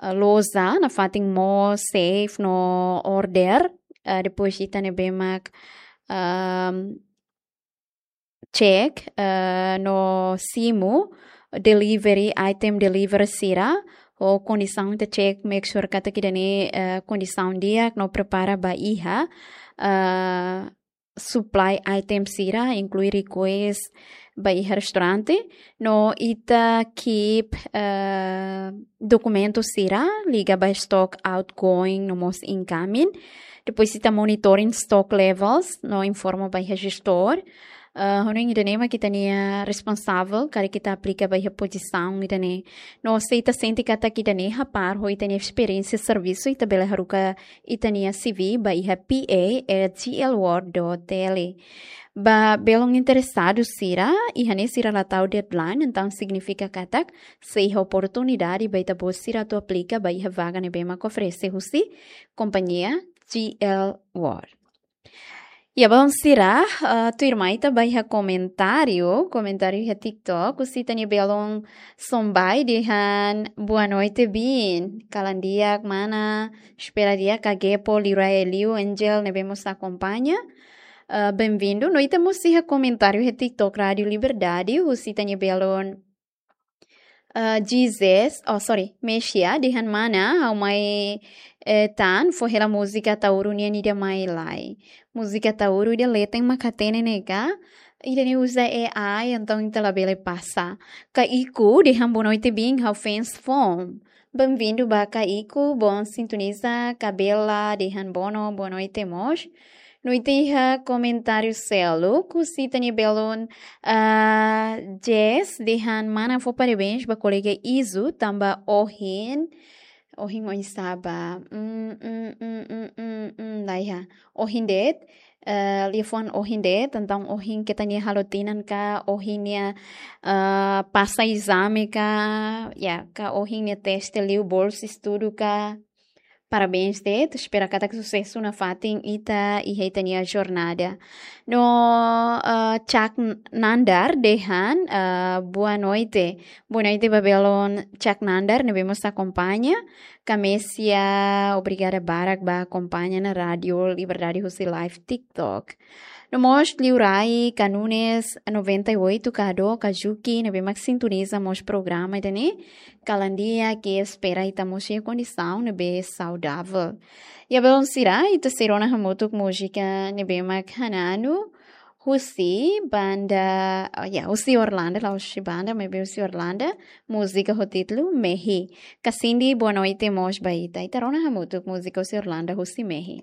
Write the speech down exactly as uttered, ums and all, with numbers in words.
eh, loja, nafatin mall, seif no order. Eh, depois ita ne'ebé mak, ehm, check, eh, no simu delivery, item delivery sira, ho kondisaun ita check, make sure katak ida-ne'e, eh, kondisaun di'ak no prepara ba iha, eh, supply item sira, inklui request ba iha restaurante, no ita keep, eh, dokumentu sira liga ba stock outgoing no mós incoming. Depois ita monitoring stock levels no informa ba iha gestór. Eh, hanoin ida-ne'e mak ita-nia responsavel, karik ita aplika ba iha pozisaun ida-ne'e. No se ita sente katak ida-ne'e hapar ho ita-nia esperiénsia servisu, ita bele haruka ita-nia C V ba iha P A at G L world dot T L. Ba belun interesadu sira, iha ne'e sira la tau deadline, entaun signifika katak sei iha oportunidade ba ita-boot sira atu aplika ba iha vaga ne'ebé mak oferese husi kompañia G L World. Ya, belun sira, eh, tuirmai ita ba iha komentáriu, komentáriu iha TikTok, husi ita-nia belun Sombai dehan boa noite, Bin. Kalan di'ak, mana, espera di'ak, ka Gepo, Liurai, Liu, Angel, ne'ebé mós akompaña. Eh, bem-vindo. No ita mós iha komentáriu iha TikTok Rádio Liberdade, husi ita-nia belun, eh, Jesus, oh, sorry, Mexia, dehan mana, ha'u mai, eh, tan, fó hela múzika Ataúru nian ida mai lai. Múzika Ataúru ida leten mak hatene ne'e ka, ida-ne'e uza A I, entaun ita labele pasa. Kaiku, dehan boa noite, Bin, ha'u fans foun. Bem-vindo ba Kaiku, bom sintoniza, Kabela, dehan bono, boa noite, mós. No ita iha komentáriu seluk, husi ita-nia belun, ah, Jess, dehan mana fó parabéns ba kolega Izu, tanba ohin, ohin oinsá ba, mm, mm, mm, mm, mm, mm, la iha. Ohin de'it, eh, liafuan ohin de'it, entaun ohin keta nia halo tinan ka, ohin nia, eh, pasa ezame ka, ya, ka ohin nia teste liu bolsa estudu ka. Parabéns de'it, espera katak susesu nafatin ita iha ita-nia jornada. No, eh, Cak Nandar dehan, eh, boa noite. Boa noite ba belun Cak Nandar, ne'ebé mós akompaña. Kamesia, obrigada barak ba akompaña ona Rádio Liberdade husi live TikTok. No mós Liurai, ka Nunes, noventa e oito, ka Do, ka Juki, ne'ebé mak sintoniza mós programa ida-ne'e. Kalan di'ak, ke espera ita mós iha kondisaun ne'ebé saudavel. Ya, belun sira, ita sei rona hamutuk múzika ne'ebé mak hananu, husi banda, oh, ya, husi Orlando, la'ós husi banda, maibé husi Orlando, múzika ho títulu Mehi. Ka Cindy, boa noite, mós ba ita. Ita rona hamutuk múzika husi Orlando, husi Mehi.